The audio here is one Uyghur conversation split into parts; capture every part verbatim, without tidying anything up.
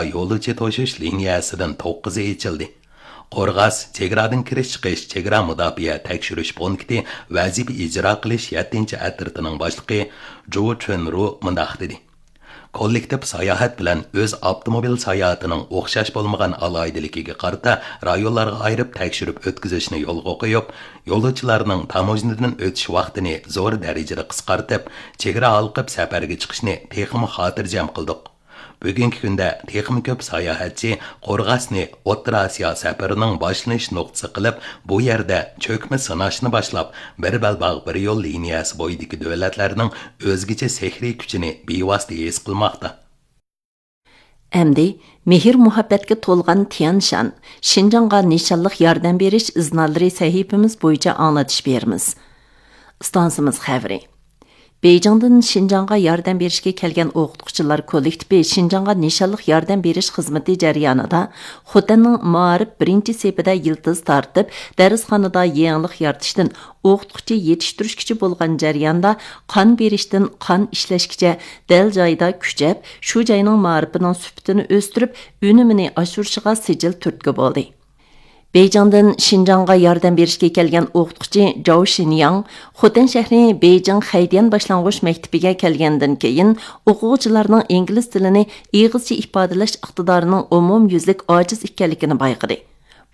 يولۇچى توشۇش لىنىيەسىدىن توققۇزى ئېچىلدى. قورغاس چېگرادىن كىرىش چىقىش چېگرا مۇداپىئە تەكشۈرۈش پونكىتى ۋەزىپە ئىجرا قىلىش يەتتىنچى ئەترىتىنىڭ باشلىقى جۇ چۈنرۇ مۇنداق دېدى: كوللېكتىپ ساياھەت بىلەن ئۆز ئاپتوموبىل ساياھىتىنىڭ ئوخشاش بولمىغان ئالاھىدىلىكىگە قارىتا رايونلارغا ئايرىپ تەكشۈرۈپ ئۆتكۈزۈشنى يولغا قويۇپ، يولۇچىلارنىڭ تاموژنىدىن ئۆتۈش ۋاقتىنى زور دەرىجىدە قىسقارتىپ، چېگرا ھالقىپ سەپەرگە چىقىشنى تېخىمۇ خاتىرجەم قىلدۇق. بۈگۈنكى كۈندە تېخىمۇ كۆپ ساياھەتچى قورغاسنى ئوتتۇرا ئاسىيا سەپىرىنىڭ باشلىنىش نۇقتىسى قىلىپ، بۇ يەردە چۆكمە سىناشنى باشلاپ، بىر بەلباغ بىر يول لىنىيەسى بويىدىكى دۆلەتلەرنىڭ ئۆزگىچە سېھرىي كۈچىنى بىۋاسىتە ھېس قىلماقتا. ئەمدى مېھىر-مۇھەببەتكە تولغان تيەنشان، شىنجاڭغا نىشانلىق ياردەم بېرىش ئىزنالىرى سەھىپىمىز بويىچە ئاڭلىتىش بېرىمىز. ئىستانسىمىز خەۋىرى. بېيجىڭدىن شىنجاڭغا ياردەم بېرىشكە كەلگەن ئوقۇتقۇچىلار كوللېكتىپى شىنجاڭغا نىشانلىق ياردەم بېرىش خىزمىتى جەريانىدا خوتەننىڭ مائارىپ بىرىنچى سېپىدە يىلتىز تارتىپ، دەرسخانىدا يېڭىلىق يارىتىشتىن ئوقۇتقۇچى يېتىشتۈرۈشكىچە بولغان جەرياندا قان بېرىشتىن قان ئىشلەشكىچە دەل جايىدا كۈچەپ، شۇ جاينىڭ مائارىپىنىڭ سۈپىتىنى ئۆستۈرۈپ، ئۈنۈمىنى ئاشۇرۇشىغا سىجىل تۈرتكە بولدى. بېيجىڭدىن شىنجاڭغا ياردەم بېرىشكە كەلگەن ئوقۇتقۇچى جاۋ شىنياڭ خوتەن شەھىرى بېيجىڭ خەيديەن باشلانغۇچ مەكتىپىگە كەلگەندىن كېيىن، ئوقۇغۇچىلارنىڭ ئىنگلىز تىلىنى ئېغىزچە ئىپادىلەش ئىقتىدارىنىڭ ئومۇميۈزلۈك ئاجىز ئىكەنلىكىنى بايقىدى.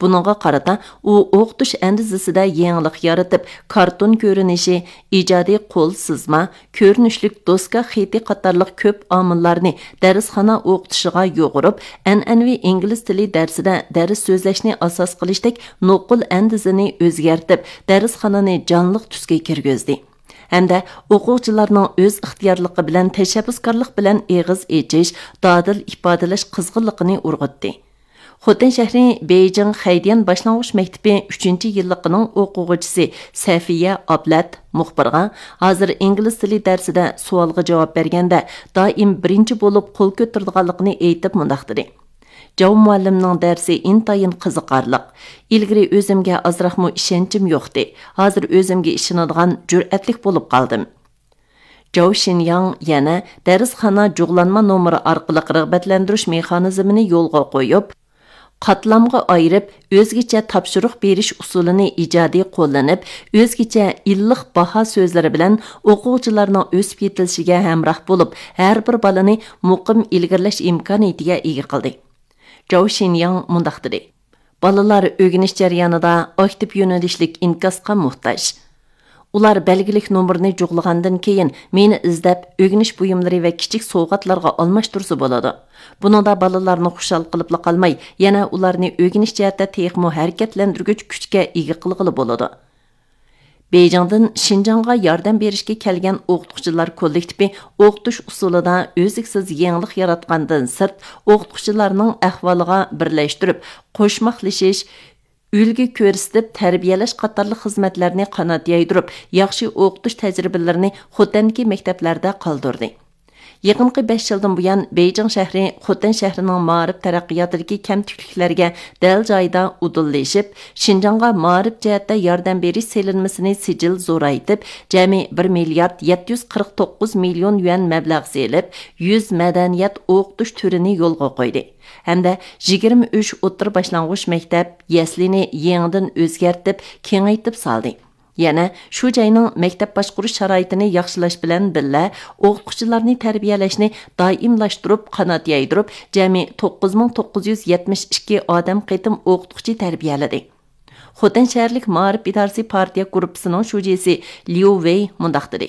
بۇنىڭغا قارىتا، ئۇ ئوقۇتۇش ئەندىزىسىدە يېڭىلىق يارىتىپ، كارتون كۆرۈنۈشى، ئىجادىي قول سىزما، كۆرۈنۈشلۈك دوسكا خېتى قاتارلىق كۆپ ئامىللارنى دەرسخانا ئوقۇتۇشىغا يۇغۇرۇپ، ئەنئەنىۋى ئىنگلىز تىلى دەرسىدە دەرس سۆزلەشنى ئاساس قىلىشتەك نوقۇل ئەندىزىنى ئۆزگەرتىپ، دەرسخانىنى جانلىق تۈسكە كىرگۈزدى. ھەمدە ئوقۇغۇچىلارنىڭ ئۆز ئىختىيارلىقى بىلەن تەشەببۇسكارلىق بىلەن ئېغىز ئېچىش، دادىل ئىپادىلەش قىزغىنلىقىنى ئۇرغۇتتى. خوتەن شەھىرى بېيجىڭ خەيديەن باشلانغۇچ مەكتىپى ئۈچىنچى يىللىقىنىڭ ئوقۇغۇچىسى سەفىيە ئابلەت مۇخبىرغا ھازىر ئىنگلىز تىلى دەرسىدە سوئالغا جاۋاب بەرگەندە دائىم بىرىنچى بولۇپ قول كۆتۈرىدىغانلىقىنى ئېيتىپ مۇنداق دېدى: جاۋ مۇئەللىمنىڭ دەرسى ئىنتايىن قىزىقارلىق. ئىلگىرى ئۆزۈمگە ئازراقمۇ ئىشەنچىم يوقتى. ھازىر ئۆزۈمگە ئىشىنىدىغان، جۈرئەتلىك بولۇپ قالدىم. جاۋ شىنياڭ يەنە دەرسخانا جۇغلانما نومۇرى ئارقىلىق رىغبەتلەندۈرۈش مېخانىزمىنى يولغا قويۇپ، قاتلامغا ئايرىپ، ئۆزگىچە تاپشۇرۇق بېرىش ئۇسۇلىنى ئىجادىي قوللىنىپ، ئۆزگىچە ئىللىق باھا سۆزلىرى بىلەن ئوقۇغۇچىلارنىڭ ئۆسۈپ يېتىلىشىگە ھەمراھ بولۇپ، ھەر بىر بالىنى مۇقىم ئىلگىرىلەش ئىمكانىيىتىگە ئىگە قىلدى. جاۋ شىنياڭ مۇنداق دېدى: بالىلار ئۆگىنىش جەريانىدا ئاكتىپ يۆنىلىشلىك ئىنكاسقا موھتاج. ئۇلار بەلگىلىك نومۇرنى جۇغلىغاندىن كېيىن، مېنى ئىزدەپ، ئۆگىنىش بۇيۇملىرى ۋە كىچىك سوۋغاتلارغا ئالماشتۇرسا بولىدۇ. بۇنىڭدا بالىلارنى خۇشال قىلىپلا قالماي، يەنە ئۇلارنى ئۆگىنىش جەھەتتە تېخىمۇ ھەرىكەتلەندۈرگۈچ كۈچكە ئىگە قىلغىلى بولىدۇ. بېيجىڭدىن شىنجاڭغا ياردەم بېرىشكە كەلگەن ئوقۇتقۇچىلار كوللېكتىپى ئوقۇتۇش ئۇسۇلىدا ئۈزلۈكسىز يېڭىلىق ياراتقاندىن سىرت، ئوقۇتقۇچىلارنىڭ ئەھۋالىغا بىرلەشتۈرۈپ قوشماقلىشىش، ئۈلگە كۆرسىتىپ تەربىيەلەش قاتارلىق خىزمەتلەرنى قانات يايدۇرۇپ، ياخشى ئوقۇتۇش تەجرىبىلىرىنى خوتەندىكى مەكتەپلەردە قالدۇردى. يېقىنقى بەش يىلدىن بۇيان، بېيجىڭ شەھىرى خوتەن شەھىرىنىڭ مائارىپ تەرەققىياتىدىكى كەمتۈكلۈكلەرگە دەل جايىدا ئۇدۇللىشىپ، شىنجاڭغا مائارىپ جەھەتتە ياردەم بېرىش سېلىنمىسىنى سىجىل زورايتىپ، جەمئىي بىر مىليارد يەتتە يۈز قىرىق توققۇز مىليون يۈەن مەبلەغ سېلىپ، يۈز مەدەنىيەت ئوقۇتۇش تۈرىنى يولغا قويدى ھەمدە يىگىرمە ئۈچ ئوتتۇرا باشلانغۇچ مەكتەپ، يەسلىنى يېڭىدىن ئۆزگەرتىپ، كېڭەيتىپ سالدى. يەنە شۇ جاينىڭ مەكتەپ باشقۇرۇش شارائىتىنى ياخشىلاش بىلەن بىللە، ئوقۇتقۇچىلارنى تەربىيەلەشنى دائىملاشتۇرۇپ، قانات يايدۇرۇپ، جەمئىي توققۇز مىڭ توققۇز يۈز يەتمىش ئىككى ئادەم قېتىم ئوقۇتقۇچى تەربىيەلىدى. خوتەن شەھەرلىك مائارىپ ئىدارىسى پارتىيە گۇرۇپپىسىنىڭ شۇجىسى ليۇ ۋېي مۇنداق دېدى: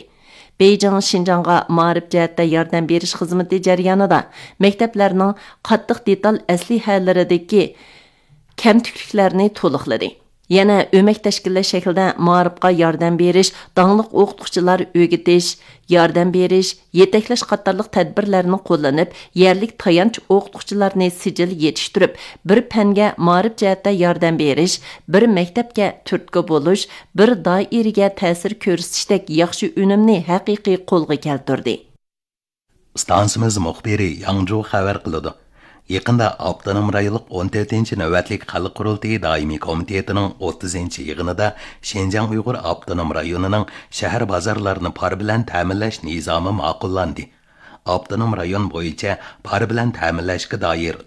بېيجىڭ شىنجاڭغا مائارىپ جەھەتتە ياردەم بېرىش خىزمىتى جەريانىدا مەكتەپلەرنىڭ قاتتىق دېتال ئەسلىھەلىرىدىكى كەمتۈكلۈكلەرنى تولۇقلىدى. يەنە ئۆمەك تەشكىللەش شەكلىدە مائارىپقا ياردەم بېرىش، داڭلىق ئوقۇتقۇچىلار ئۆگىتىش، ياردەم بېرىش، يېتەكلەش قاتارلىق تەدبىرلەرنى قوللىنىپ، يەرلىك تايانچ ئوقۇتقۇچىلارنى سىجىل يېتىشتۈرۈپ، بىر پەنگە مائارىپ جەھەتتە ياردەم بېرىش، بىر مەكتەپكە تۈرتكە بولۇش، بىر دائىرىگە تەسىر كۆرسىتىشتەك ياخشى ئۈنۈمنى ھەقىقىي قولغا كەلتۈردى. ئىستانسىمىز مۇخبىرى ياڭجۇ خەۋەر قىلىدۇ. يېقىندا ئاپتونوم رايونلۇق ئون تۆتىنچى نۆۋەتلىك خەلق قۇرۇلتىيى دائىمىي كومىتېتىنىڭ ئوتتۇزىنچى يىغىنىدا شىنجاڭ ئۇيغۇر ئاپتونوم رايونىنىڭ شەھەر بازارلىرىنى پار بىلەن تەمىنلەش نىزامى ماقۇللاندى. ئاپتونوم رايون بويىچە پارا بىلەن تەمىنلەشكە دائىر